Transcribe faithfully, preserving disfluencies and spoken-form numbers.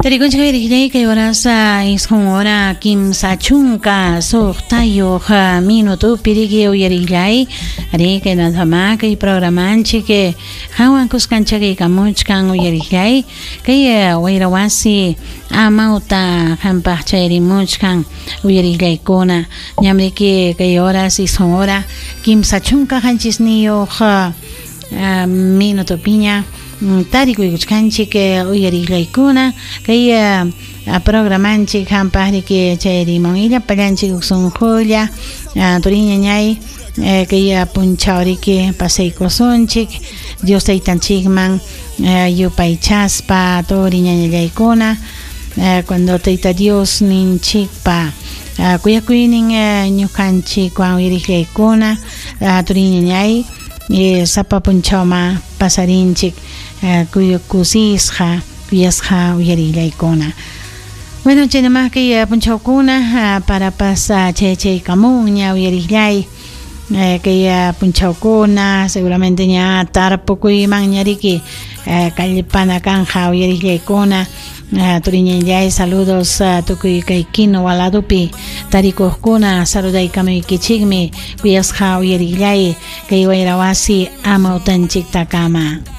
Tarikunchik uyariqllay kay horasa isqun hora kimsa chunka suqtayuq minutupi riki uyariqllay ari kay nadama kay programanchik hawan kuskanchakaykamuchkan uyariqllay kay wayra wasi amawta hampaq chayrimuchkan uyariqllaykuna ñamriki kay horas isqun hora kimsa chunka qanchisniyuq minutupiña tarikuykuchkanchik uyariqllaykuna kay programanchik hampaqriki chayrimun illapallanchik sunqulla turiñañay kay punchawriki pasaykusunchik Dios taytanchikman yupaychaspa turiñañallaykuna cuando tayta Dios ninchikpa kuyakuynin ñuqanchikwan uyariqllaykuna turiñañay sapa punchawma pasarinchik kusisqa kuyasqa uyarillaykuna. Bueno, chaynamaq kay punchawkuna parapas chaychaykamunña uyarillay kay punchawkuna seguramente ña tarpukuymanña riki kallpana kanja uyarillaykuna turiñallay saludos tukuy kay Quinua ladopi tarikuqkuna saludaykamuykichikmi kuyasqa uyarillay kay wayra wasi amawtanchiktakama.